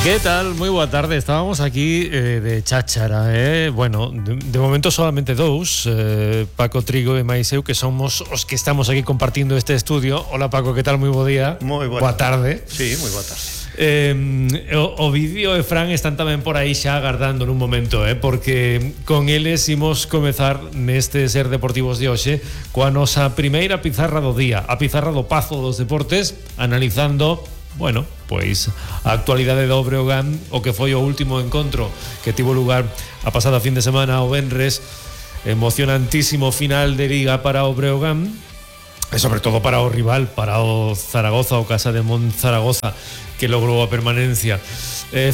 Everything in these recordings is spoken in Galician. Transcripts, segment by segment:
¿Qué tal? Muy boa tarde. Estábamos aquí de cháchara, Bueno, de momento solamente dous, Paco Trigo e mais eu, que somos os que estamos aquí compartindo este estudio. Hola Paco, que tal? Moi bo día. Moi boa tarde. Sí, moi boa tarde. O vídeo e Fran están tamén por aí xa agardando nun momento, porque con eles imos comezar neste Ser Deportivos de hoxe coa nosa primeira pizarra do día, a pizarra do Pazo dos Deportes, analizando, bueno, pois a actualidade do Breogán, o que foi o último encontro que tivo lugar a pasada fin de semana o venres, emocionantísimo final de liga para o Breogán e sobre todo para o rival, para o Zaragoza, o Casa de Monzaragoza, que logrou a permanencia.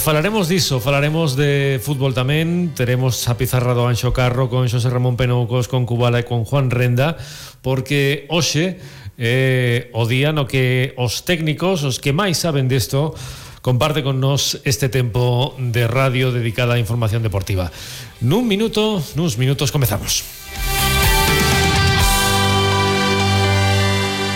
Falaremos diso, falaremos de fútbol tamén. Teremos a pizarra do Anxo Carro con Xosé Ramón Penoucos, con Cubala e con Juan Renda, porque hoxe o día no que os técnicos, os que máis saben desto, comparte con nos este tempo de radio dedicada á información deportiva. Nuns minutos comezamos.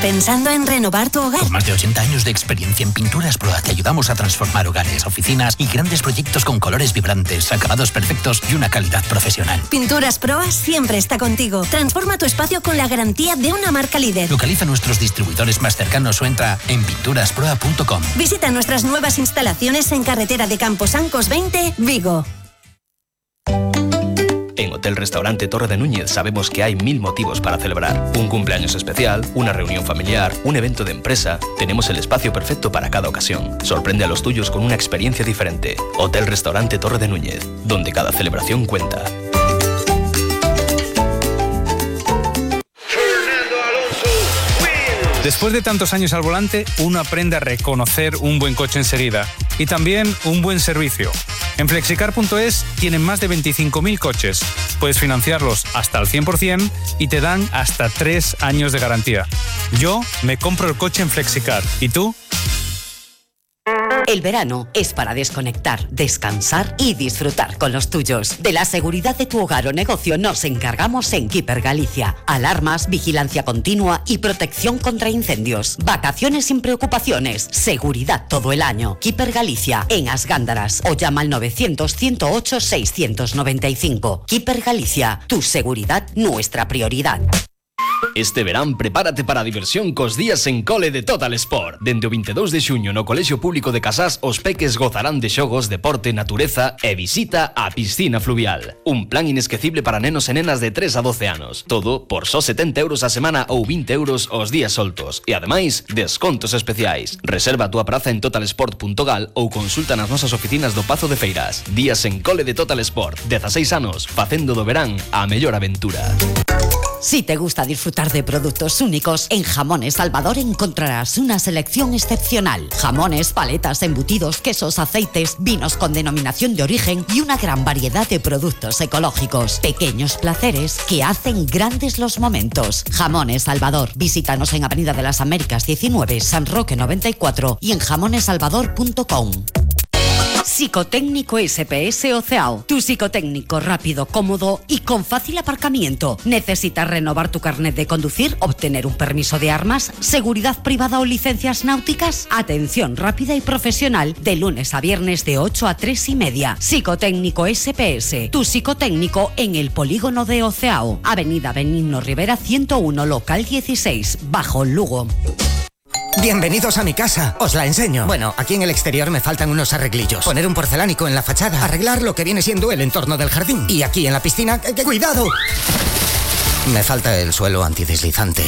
¿Pensando en renovar tu hogar? Con más de 80 años de experiencia en Pinturas Proa te ayudamos a transformar hogares, oficinas y grandes proyectos con colores vibrantes, acabados perfectos y una calidad profesional. Pinturas Proa siempre está contigo. Transforma tu espacio con la garantía de una marca líder. Localiza nuestros distribuidores más cercanos o entra en pinturasproa.com. Visita nuestras nuevas instalaciones en carretera de Camposancos 20, Vigo. En Hotel Restaurante Torre de Núñez sabemos que hay 1000 motivos para celebrar. Un cumpleaños especial, una reunión familiar, un evento de empresa. Tenemos el espacio perfecto para cada ocasión. Sorprende a los tuyos con una experiencia diferente. Hotel Restaurante Torre de Núñez, donde cada celebración cuenta. Después de tantos años al volante, uno aprende a reconocer un buen coche enseguida y también un buen servicio. En Flexicar.es tienen más de 25.000 coches. Puedes financiarlos hasta al 100% y te dan hasta 3 años de garantía. Yo me compro el coche en Flexicar. ¿Y tú? El verano es para desconectar, descansar y disfrutar con los tuyos. De la seguridad de tu hogar o negocio nos encargamos en Keeper Galicia. Alarmas, vigilancia continua y protección contra incendios. Vacaciones sin preocupaciones. Seguridad todo el año. Keeper Galicia, en As Gándaras. O llama al 900-108-695. Keeper Galicia, tu seguridad, nuestra prioridad. Este verán prepárate para a diversión cos días en cole de Total Sport. Dende o 22 de xuño no Colexio Público de Casás os peques gozarán de xogos, deporte, natureza e visita á piscina fluvial. Un plan inesquecible para nenos e nenas de 3 a 12 anos. Todo por só 70 euros a semana ou 20 euros os días soltos. E ademais, descontos especiais. Reserva a túa praza en totalsport.gal ou consulta nas nosas oficinas do Pazo de Feiras. Días en cole de Total Sport. 16 anos, facendo do verán a mellor aventura. Si te gusta disfrutar de productos únicos, en Jamones Salvador encontrarás una selección excepcional. Jamones, paletas, embutidos, quesos, aceites, vinos con denominación de origen y una gran variedad de productos ecológicos. Pequeños placeres que hacen grandes los momentos. Jamones Salvador. Visítanos en Avenida de las Américas 19, San Roque 94 y en jamonesalvador.com. Psicotécnico SPS Oceao. Tu psicotécnico rápido, cómodo y con fácil aparcamiento. ¿Necesitas renovar tu carnet de conducir, obtener un permiso de armas, seguridad privada o licencias náuticas? Atención rápida y profesional de lunes a viernes de 8 a 3:30. Psicotécnico SPS. Tu psicotécnico en el polígono de Oceao. Avenida Benigno Rivera 101, local 16, Bajo Lugo. Bienvenidos a mi casa, os la enseño. Bueno, aquí en el exterior me faltan unos arreglillos. Poner un porcelánico en la fachada, arreglar lo que viene siendo el entorno del jardín. Y aquí en la piscina, ¡cuidado! Me falta el suelo antideslizante.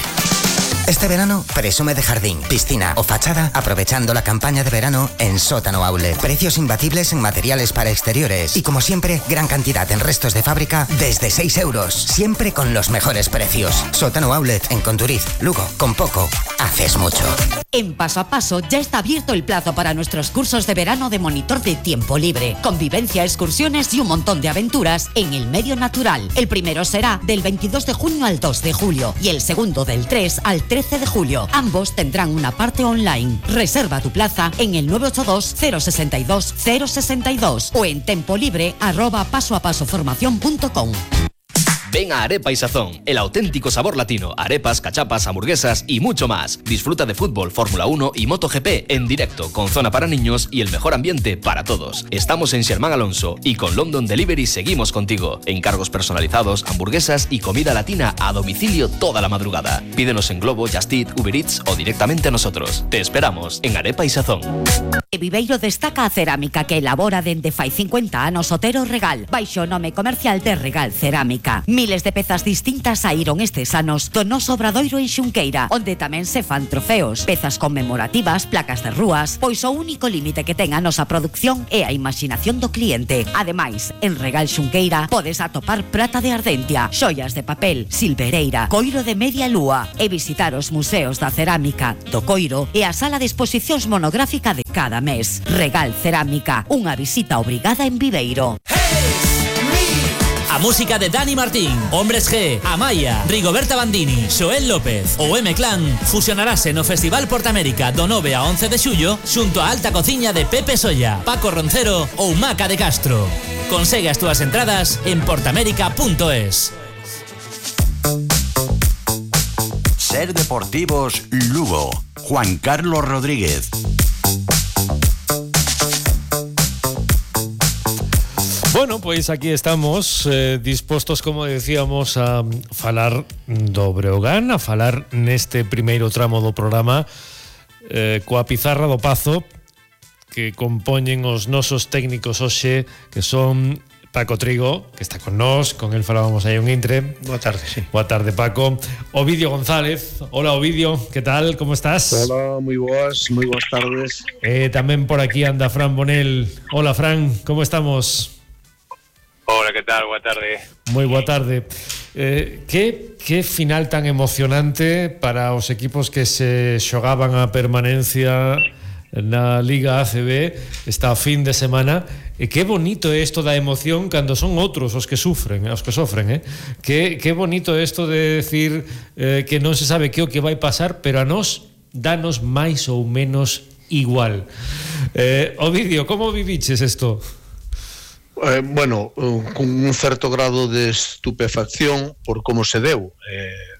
Este verano, presume de jardín, piscina o fachada, aprovechando la campaña de verano en Sótano Outlet. Precios imbatibles en materiales para exteriores. Y como siempre, gran cantidad en restos de fábrica desde 6 euros. Siempre con los mejores precios. Sótano Outlet en Conturiz, Lugo. Con poco, haces mucho. En Paso a Paso ya está abierto el plazo para nuestros cursos de verano de monitor de tiempo libre. Convivencia, excursiones y un montón de aventuras en el medio natural. El primero será del 22 de junio al 2 de julio y el segundo del 3 al 13 de julio. Ambos tendrán una parte online. Reserva tu plaza en el 982-062-062 o en tempolibre@pasoapasoformacion.com. Ven a Arepa y Sazón, el auténtico sabor latino. Arepas, cachapas, hamburguesas y mucho más. Disfruta de fútbol, Fórmula 1 y MotoGP en directo, con zona para niños y el mejor ambiente para todos. Estamos en Sherman Alonso y con London Delivery seguimos contigo. Encargos personalizados, hamburguesas y comida latina a domicilio toda la madrugada. Pídenos en Globo, Just Eat, Uber Eats o directamente a nosotros. Te esperamos en Arepa y Sazón. E Viveiro destaca a cerámica que elabora dende fai 50 anos Otero Regal, baixo o nome comercial de Regal Cerámica. Miles de pezas distintas saíron estes anos do noso obradoiro en Xunqueira, onde tamén se fan trofeos, pezas conmemorativas, placas de rúas, pois o único límite que ten a nosa produción é a imaginación do cliente. Ademais, en Regal Xunqueira podes atopar prata de Ardentia, xoias de papel, silvereira, coiro de media lúa e visitar os museos da cerámica, do coiro e a sala de exposicións monográfica de cada mes. Regal Cerámica, unha visita obrigada en Viveiro. A música de Dani Martín, Hombres G, Amaya, Rigoberta Bandini, Xoel López ou M-Clan fusionarase no Festival Portamérica do 9 a 11 de xullo xunto á alta cociña de Pepe Solla, Paco Roncero ou Maca de Castro. Consegue as túas entradas en portamérica.es. Ser Deportivos Lugo, Juan Carlos Rodríguez. Bueno, pois aquí estamos dispostos, como decíamos, a falar do Breogán, a falar neste primeiro tramo do programa coa pizarra do Pazo que compoñen os nosos técnicos hoxe, que son Paco Trigo, que está con nós, con el falábamos aí un intre. Boa tarde, sí. Boa tarde, Paco. Ovidio González. Hola, Ovidio, que tal? Como estás? Hola, moi boas tardes. Tamén por aquí anda Fran Bonel. Hola, Fran, como estamos? Hola, que tal? Boa tarde. Moi boa tarde. Que final tan emocionante para os equipos que se xogaban a permanencia na Liga ACB esta fin de semana. E que bonito é isto da emoción cando son outros os que sofren, Que bonito é isto de decir que non se sabe que o que vai pasar, pero a nós danos máis ou menos igual. Ovidio, como viviches isto? Bueno, con un certo grado de estupefacción por como se deu.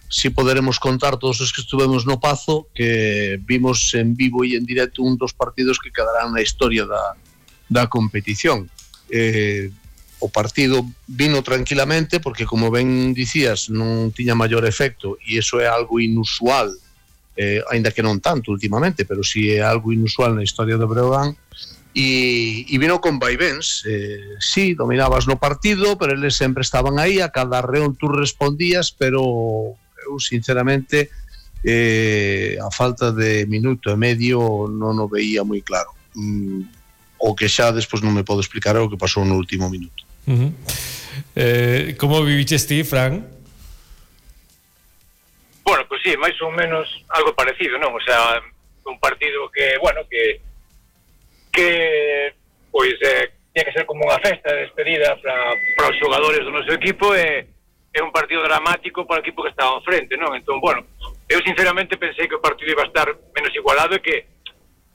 Si poderemos contar todos os que estuvemos no Pazo que vimos en vivo e en directo un dos partidos que quedarán na historia da competición. O partido vino tranquilamente porque, como ben dicías, non tiña maior efecto e iso é algo inusual, aínda que non tanto últimamente, pero si é algo inusual na historia do Breogán. E vino con vaivens. Sí, dominabas no partido, pero eles sempre estaban aí, a cada reón tú respondías, pero eu sinceramente a falta de minuto e medio non o veía moi claro. O que xa despois non me podo explicar é o que pasou no último minuto. Como viviches ti, Fran? Bueno, pues sí, máis ou menos algo parecido, non? O sea, un partido que, bueno, que pois tiene que ser como unha festa de despedida para os xogadores do noso equipo e é un partido dramático para o equipo que estaba ao frente, non? Entón, bueno, eu sinceramente pensei que o partido iba a estar menos igualado e que,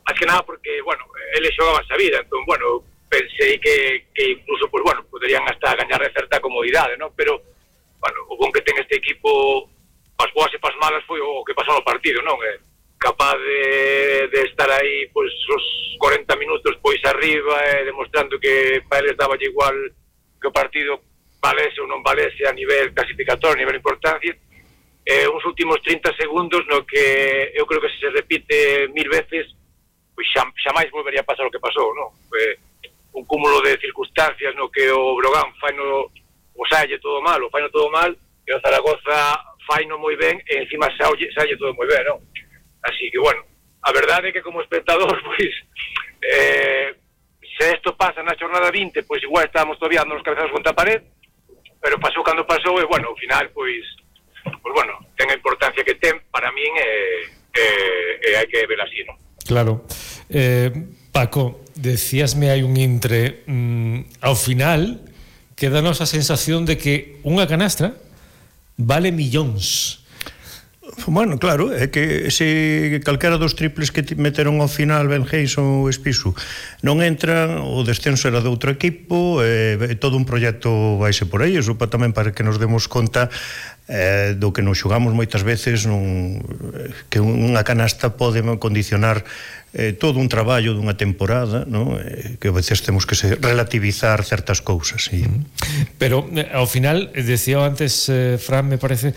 máis que nada porque, bueno, eles xogaban a vida, entón, bueno, pensei que incluso, pues bueno, poderían hasta gañar de certa comodidade, non? Pero, bueno, o bon que ten este equipo, pas boas e pas malas, foi o que pasou no partido, non? Capaz de estar aí pois os 40 minutos pois arriba demostrando que para eles daba igual que o partido valese ou non valese a nivel clasificatorio, a nivel importancia. Uns últimos 30 segundos no que eu creo que se repite 1000 veces pois xamais volvería a pasar o que pasou, non? Un cúmulo de circunstancias no que o Breogán faino o salle todo mal e o Zaragoza faino moi ben e encima salle todo moi ben, non? Así que, bueno, a verdade é que como espectador, pois, se isto pasa na xornada 20, pois igual estábamos todavía dando os cabezados contra a pared, pero pasou cando pasou e, bueno, ao final, pois bueno, ten a importancia que ten para min e hai que ver así, non? Claro. Paco, decíasme hai un intre, ao final, quedanos a sensación de que unha canastra vale millóns. Bueno, claro, é que se calquera dos triples que meteron ao final Ben Hayson ou Espisu non entran, o descenso era de outro equipo, todo un proxecto vaise por aí, eso tamén para que nos demos conta do que nos xogamos moitas veces, que unha canasta pode condicionar todo un traballo dunha temporada, ¿no? Que a veces temos que relativizar certas cousas. Sí. Pero ao final, decía antes Fran, me parece,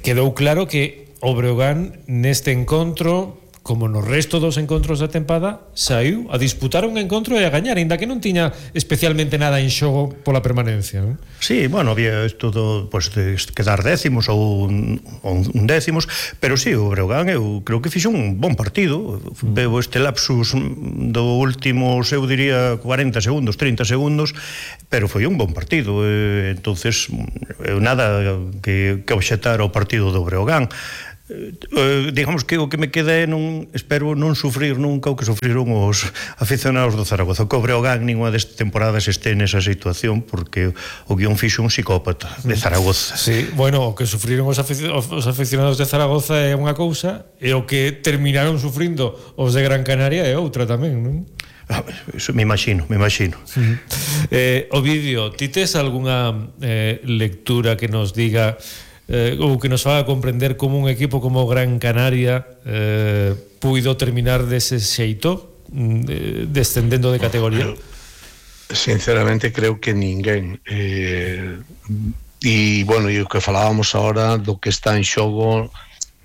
quedou claro que o Breogán neste encontro, como no resto dos encontros da tempada, saiu a disputar un encontro e a gañar, ainda que non tiña especialmente nada en xogo pola permanencia, non? Sí, bueno, había todo, pues, de quedar décimos ou un décimos, pero sí, o Breogán eu creo que fixo un bon partido. Veo este lapsus do últimos, eu diría 40 segundos, 30 segundos, pero foi un bon partido. Entonces, nada que obxetar ao partido do Breogán. Digamos que o que me queda é espero non sufrir nunca o que sufriron os aficionados do Zaragoza. O Breogán ninguna destas temporadas este nesa situación, porque o guión fixo un psicópata de Zaragoza. Sí, bueno, o que sufriron os aficionados de Zaragoza é unha cousa, e o que terminaron sufrindo os de Gran Canaria é outra tamén, non? Eso me imagino. Ovidio, ti tes algunha lectura que nos diga ou que nos faga comprender como un equipo como Gran Canaria puido terminar dese xeito, descendendo de categoría? Sinceramente creo que ninguén, e bueno, e o que falábamos agora do que está en xogo,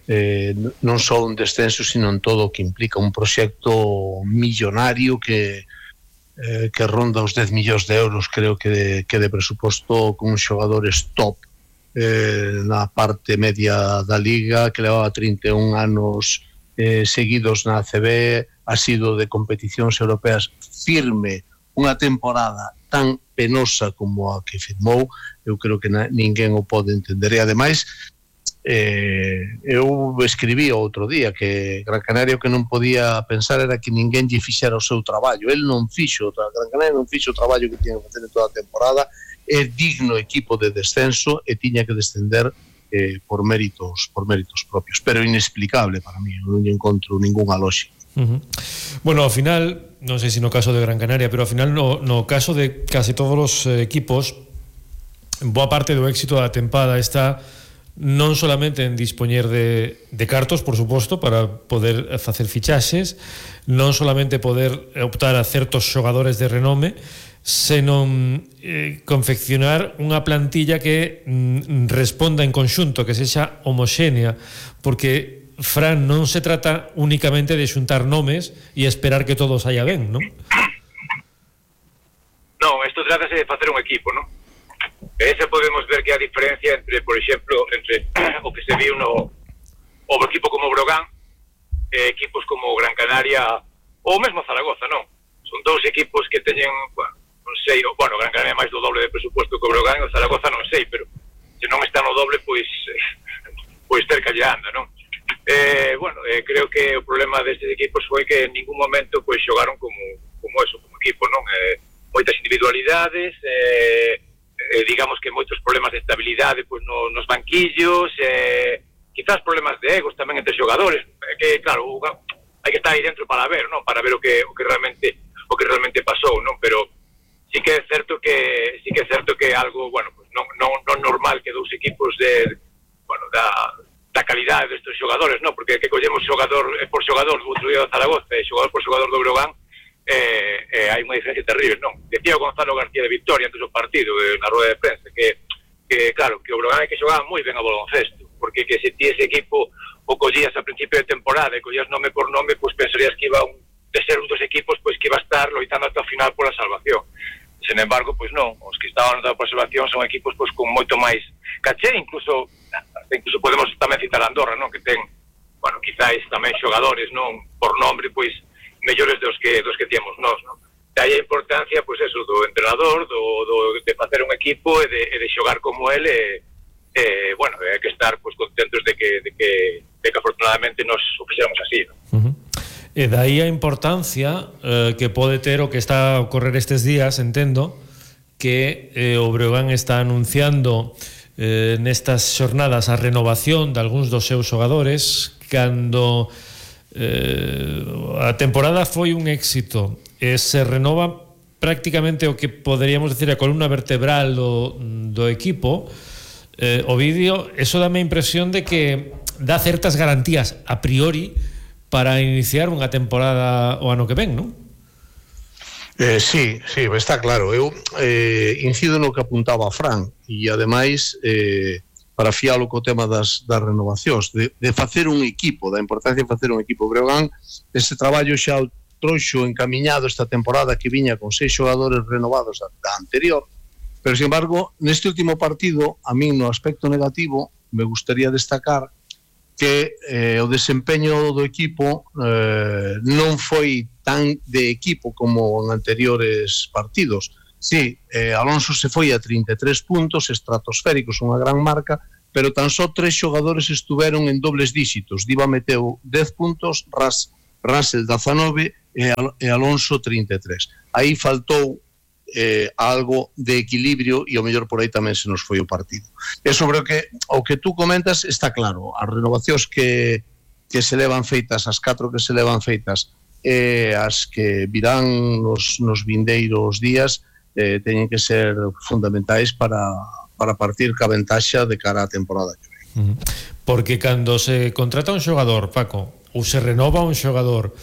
non só un descenso, sino en todo o que implica un proxecto millonario que ronda os 10 millóns de euros, creo que de presuposto, con xogadores top na parte media da Liga, que levaba 31 anos seguidos na ACB, ha sido de competicións europeas firme, unha temporada tan penosa como a que firmou. Eu creo que ninguén o pode entender, e ademais eu escribí outro día que Gran Canaria o que non podía pensar era que ninguén lle fixera o seu traballo. El non fixo, Gran Canaria non fixo o traballo que tiña que facer en toda a temporada. É digno equipo de descenso e tiña que descender por méritos propios, pero inexplicable para mí, non encontro ninguna lógica. Bueno, ao final, non sei se no caso de Gran Canaria, pero ao final no caso de casi todos os equipos, boa parte do éxito da tempada está non solamente en dispoñer de cartos, por suposto, para poder facer fichaxes, non solamente poder optar a certos xogadores de renome, senón confeccionar unha plantilla que responda en conxunto, que sexa homoxénea, porque, Fran, non se trata únicamente de xuntar nomes e esperar que todo saia ben, non? Non, isto trátase de facer un equipo, non? Ese podemos ver que a diferencia entre, por exemplo, entre o que se viu no equipo como Breogán, equipos como Gran Canaria ou mesmo Zaragoza, non? Son dous equipos que teñen, non sei, Gran Canaria máis do doble de presuposto que o Breogán, e o Zaragoza non sei, pero se non está no doble, pois cerca lle anda, non? Creo que o problema destes equipos foi que en ningún momento pois xogaron como eso, como equipo, non? Moitas individualidades, digamos que moitos problemas de estabilidade pois nos banquillos, quizás problemas de egos tamén entre xogadores, que claro, hai que estar aí dentro para ver, non? Para ver o que realmente pasou, non? Pero sí que é certo que algo, pues non normal que dous equipos da calidade destes xogadores, non? Porque que collemos xogador por xogador do outro día do Zaragoza e xogador por xogador do Breogán, hai unha diferencia terrible, non? Decía o Gonzalo García de Victoria antes do partido, na rueda de prensa, que claro, que o Breogán hai que xogar moi ben a baloncesto, porque que se ti ese equipo o collías a principio de temporada e collías nome por nome, pois pensarías que iba de ser un dos equipos pois que iba a estar loitando ata o final pola salvación. Sen embargo, pois non, os que estaban loitando pola salvación son equipos pois con moito máis caché, incluso podemos tamén citar a Andorra, non? Que ten, quizáis tamén xogadores, non? Por nombre, pois mellores dos que tiemos nós, non? De aí a importancia, pois eso, do entrenador, de facer un equipo e de xogar como ele, hai que estar pois contentos de que afortunadamente nos o fixéramos así, non? E dai a importancia que pode ter o que está a ocorrer estes días, entendo, que o Breogán está anunciando nestas xornadas a renovación de algúns dos seus xogadores cando a temporada foi un éxito e se renova prácticamente o que poderíamos decir a columna vertebral do equipo. Ovidio, eso dame a impresión de que dá certas garantías a priori para iniciar unha temporada o ano que ven, non? Sí, está claro. Eu incido no que apuntaba a Fran e ademais para fialo co tema das renovacións de facer un equipo, da importancia de facer un equipo. Breogán, ese traballo xa o trouxo encamiñado esta temporada que viña con 6 xogadores renovados da anterior, pero sin embargo neste último partido a min no aspecto negativo me gustaría destacar que o desempeño do equipo non foi tan de equipo como en anteriores partidos. Sí, Alonso se foi a 33 puntos estratosféricos, unha gran marca, pero tan só 3 xogadores estuveron en dobles dígitos. Diva meteu 10 puntos, Russell 19 e Alonso 33. Aí faltou algo de equilibrio e o mellor por aí tamén se nos foi o partido. E sobre o que tú comentas está claro, as renovacións que se levan feitas, as 4 que se levan feitas e as que virán nos vindeiros días teñen que ser fundamentais para partir ca ventaxa de cara á temporada que ven. Porque cando se contrata un xogador, Paco, ou se renova un xogador,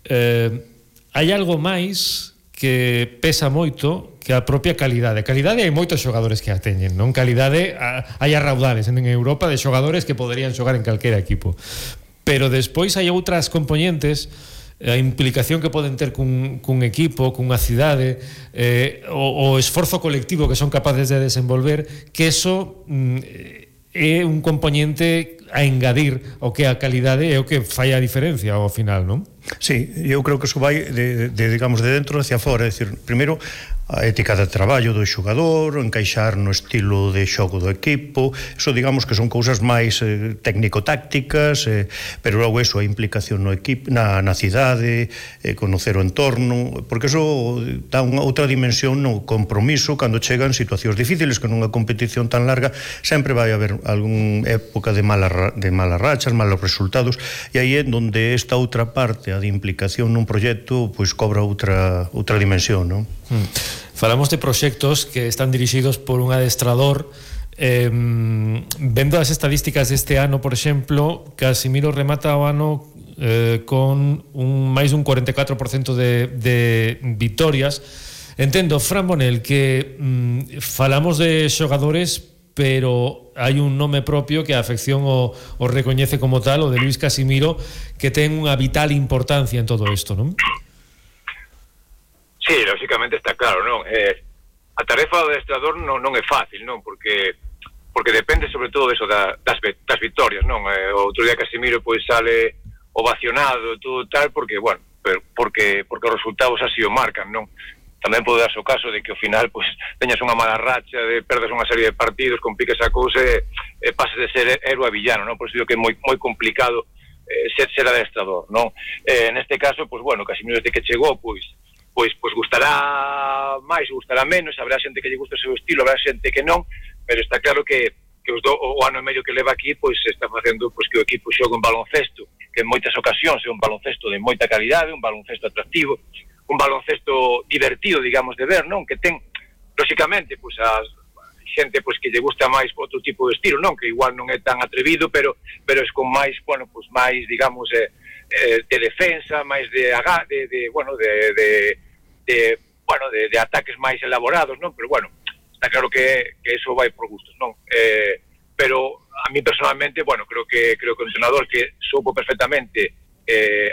hai algo máis que pesa moito que a propia calidade. Calidade hai moitos xogadores que a teñen, non? Calidade hai a raudales en Europa de xogadores que poderían xogar en calquera equipo. Pero despois hai outras componentes, a implicación que poden ter cun equipo, cunha cidade, o esforzo colectivo que son capaces de desenvolver, que eso é un componente a engadir o que a calidade é o que fai a diferencia ao final, non? Sí, eu creo que eso vai digamos, de dentro hacia fora, é dicir, primeiro a ética de traballo do xogador, encaixar no estilo de xogo do equipo, eso digamos que son cousas máis técnico-tácticas, pero logo eso, a implicación no equipo, na cidade, conocer o entorno, porque eso dá unha outra dimensión no compromiso cando chegan situacións difíciles, que nunha competición tan larga sempre vai haber algún época de malas rachas, malos resultados, e aí é onde esta outra parte, a de implicación nun proxecto, pois cobra outra dimensión, non? Falamos de proxectos que están dirixidos por un adestrador. Vendo as estadísticas deste ano, por exemplo, Casimiro remata o ano con máis dun 44% de vitorias. Entendo, Fran Bonel, que falamos de xogadores, pero hai un nome propio que a afección o recoñece como tal, o de Luis Casimiro, que ten unha vital importancia en todo isto, non? Sí, lógicamente está claro, non? A tarefa do adestrador non é fácil, non? Porque depende sobre todo eso das vitorias, non? O outro día Casimiro pois sale ovacionado e todo tal, porque, bueno, porque os resultados así o marcan, non? Tamén pode darse o caso de que ao final pois teñas unha mala racha, perdas unha serie de partidos, compliques a cousa e pases de ser héroe a villano, non? Por iso digo que é moi complicado ser adestrador, non? Neste caso, pois, bueno, Casimiro desde que chegou, pois gustará máis, gustará menos, habrá xente que lle gusta o seu estilo, habrá xente que non, pero está claro que o ano e medio que leva aquí pois está facendo pois que o equipo xogue un baloncesto que en moitas ocasións é un baloncesto de moita calidade, un baloncesto atractivo, un baloncesto divertido, digamos, de ver, non? Que ten, lógicamente, pois a xente pois que lle gusta máis outro tipo de estilo, non? Que igual non é tan atrevido, pero é con máis, bueno, pois máis, digamos, de defensa, máis de ataques máis elaborados, non? Pero bueno, está claro que eso vai por gustos, non? Pero a mí personalmente, bueno, creo que o entrenador que soupo perfectamente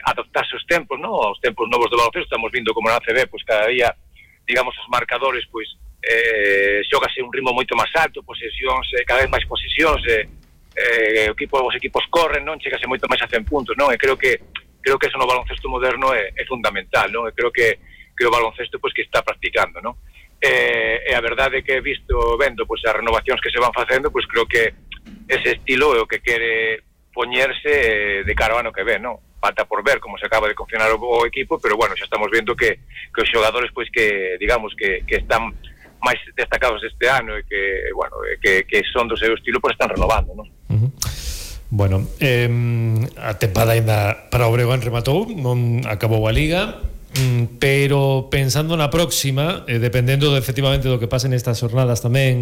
adaptarse aos tempos, non? Aos tempos novos do baloncesto, estamos vindo como na ACB, pois cada día, digamos, os marcadores, pois xógase un ritmo moito máis alto, posesións, cada vez máis posesións, os equipos corren, non? Chegase moito máis a 100 puntos, non? E creo que eso no baloncesto moderno é fundamental, non? E creo que o baloncesto pois que está practicando, non? E a verdade é que vendo pois as renovacións que se van facendo, pois creo que ese estilo é o que quere poñerse de cara ao ano que ven, non? Falta por ver como se acaba de confeccionar o equipo, pero bueno, xa estamos vendo que os xogadores pois que digamos que están máis destacados este ano e que, bueno, que son do seu estilo, pois están renovando, non? Bueno, a tempada ainda para o Breogán rematou, non acabou a Liga, pero pensando na próxima, dependendo efectivamente do que pase nestas jornadas tamén,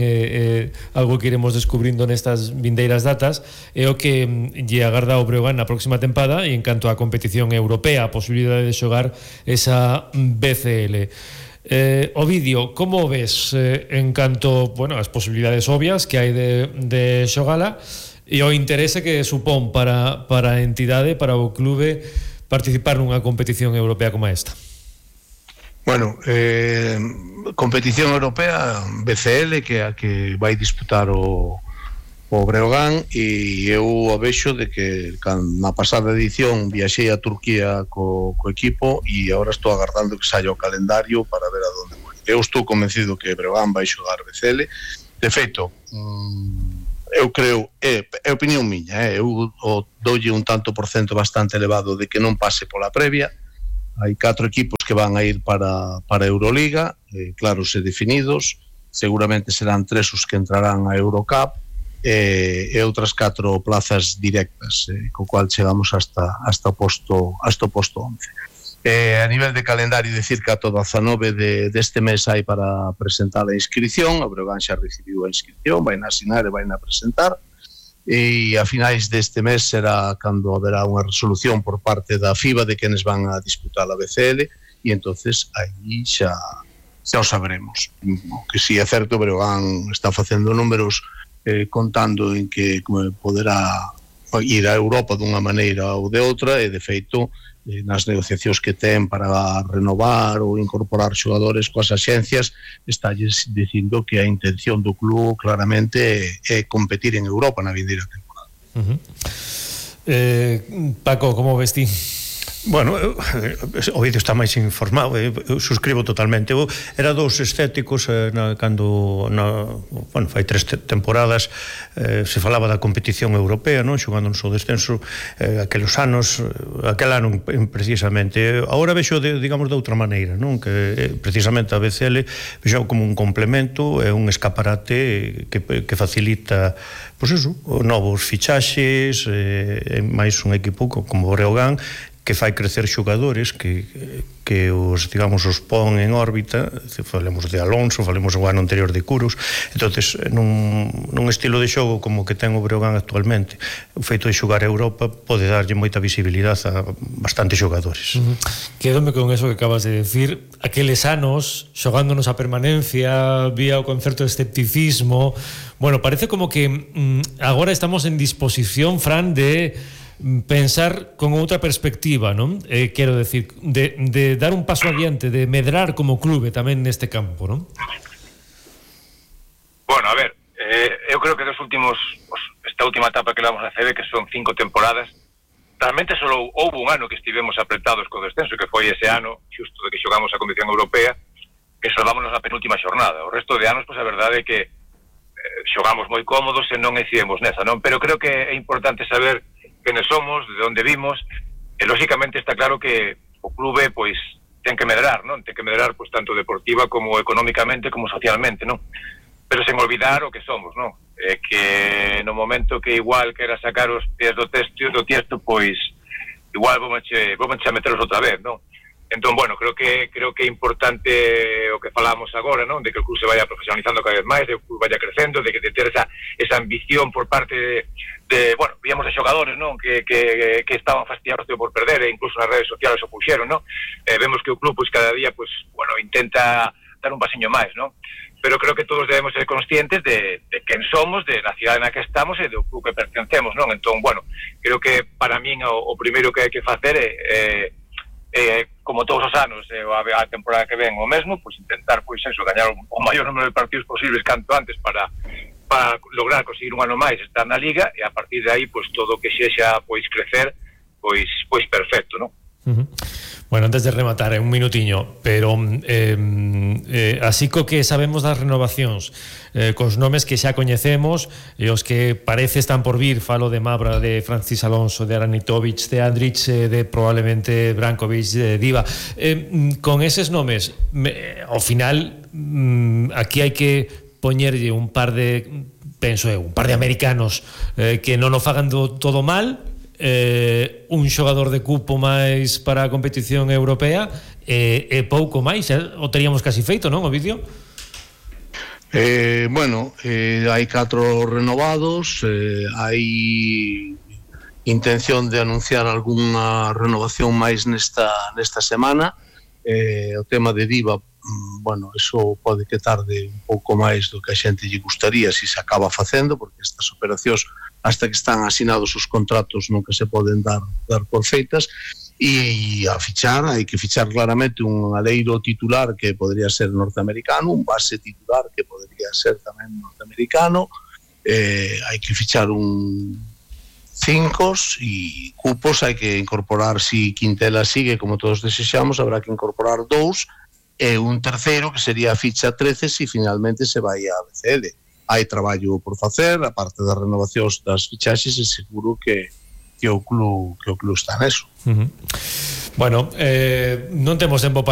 algo que iremos descubrindo nestas vindeiras datas, é o que lle agarda o Breogán na próxima tempada, e en canto á competición europea, a posibilidade de xogar esa BCL. Ovidio, como ves en canto, bueno, as posibilidades obvias que hai de xogala e o interese que supón para a entidade, para o clube, participar nunha competición europea como esta? Bueno, competición europea BCL, que é a que vai disputar o Breogán, e eu a vexo de que na pasada edición viaxei a Turquía co equipo e agora estou agardando que saia o calendario para ver a donde vou. Eu estou convencido que Breogán vai xogar BCL. De feito, eu creo, é opinión miña, eu doulle un tanto por cento bastante elevado de que non pase pola previa. Hai 4 equipos que van a ir para Euroliga, claros e definidos. Seguramente serán 3 os que entrarán a Eurocup, e outras 4 plazas directas, co cual chegamos hasta o posto 11. A nivel de calendario, decir que ata 19 deste mes hai para presentar a inscripción. O Breogán xa recibiu a inscripción, vai na asinar e vai na presentar, e a finais deste mes será cando haberá unha resolución por parte da FIBA de quenes van a disputar a BCL, e entonces aí xa o saberemos. O que si é certo, o Breogán está facendo números contando en que poderá ir a Europa dunha maneira ou de outra, e de feito nas negociacións que ten para renovar ou incorporar xogadores coas axencias, estalles dicindo que a intención do club claramente é competir en Europa na vindeira temporada. Paco, como ves ti? Bueno, o vídeo está máis informado, eu suscribo totalmente. Eu era dos escépticos cando fai 3 temporadas se falaba da competición europea, non, xogándonos o descenso aqueles anos, aquel ano precisamente. Agora vexo digamos de outra maneira, non, que precisamente a BCL vexo como un complemento, é un escaparate que facilita, pois eso, novos fichaxes, máis un equipo como o Breogán que fai crecer xogadores que os, digamos, os pon en órbita. Falemos de Alonso, falemos do ano anterior de Curus. Entonces, nun estilo de xogo como que ten o Breogán actualmente, o feito de xogar a Europa pode darlle moita visibilidade a bastantes xogadores. Quédome con eso que acabas de decir. Aqueles anos xogándonos a permanencia, vía o concerto de escepticismo. Bueno, parece como que agora estamos en disposición, Fran, de pensar con outra perspectiva, non? Quero decir, de dar un paso adiante, de medrar como clube tamén neste campo, non? Bueno, a ver, eu creo que esta última etapa que levamos a CB, que son 5 temporadas, realmente só houve un ano que estivemos apretados co descenso, que foi ese ano, xusto de que xogamos a competición europea, que salvámonos a penúltima xornada. O resto de anos, pois a verdade é que xogamos moi cómodos e non incidimos nesa, non? Pero creo que é importante saber quenes somos, de onde vimos, e lógicamente está claro que o clube pois ten que medrar, non? Ten que medrar pois tanto deportiva como económicamente como socialmente, non? Pero sen olvidar o que somos, non? Que no momento que igual quera sacar os pies do tiesto, pois igual vamos a meteros outra vez, non? Entón, bueno, creo que é importante o que falamos agora, non? De que o club se vaya profesionalizando cada vez máis, de que o club vaya crecendo, de que ter esa ambición por parte de bueno, víamos de xogadores, non? Que estaban fastidiados por perder, e incluso nas redes sociales o puxeron, non? Vemos que o club, pois, cada día, pois, bueno, intenta dar un pasiño máis, non? Pero creo que todos debemos ser conscientes de quen somos, de na cidade na que estamos e do club que pertencemos, non? Entón, bueno, creo que para min o primeiro que hai que facer é como todos os anos, a temporada que ven o mesmo, pois intentar, pois eso, gañar o maior número de partidos posibles canto antes para lograr conseguir un ano máis estar na Liga, e a partir de aí, pois todo o que sexa, pois crecer, pois perfecto, non? Bueno, antes de rematar, un minutiño, pero así co que sabemos das renovacións, cos nomes que xa coñecemos e os que parece están por vir, falo de Mabra, de Francis Alonso, de Aranitovic, de Andrić, de probablemente Brankovic, de Diva, con eses nomes, ao final aquí hai que poñerlle un par de, penso eu, un par de americanos que non o fagan todo mal, un xogador de cupo máis para a competición europea e pouco máis, o teríamos casi feito, non, Ovidio? Bueno, hai 4 renovados, hai intención de anunciar algunha renovación máis nesta semana. O tema de Diva, bueno, eso pode que tarde un pouco máis do que a xente lle gustaría se se acaba facendo, porque estas operacións hasta que están asinados os contratos nunca se poden dar por feitas. E a fichar, hai que fichar claramente un aleiro titular que podría ser norteamericano, un base titular que podría ser tamén norteamericano, hai que fichar un 5 e cupos hai que incorporar, si Quintela sigue como todos desexamos, habrá que incorporar 2 e un terceiro que sería a ficha 13 se finalmente se vai a BCL. Hai traballo por facer, a parte das renovacións das fichaxes, e seguro que o club está neso. Bueno, non temos tempo para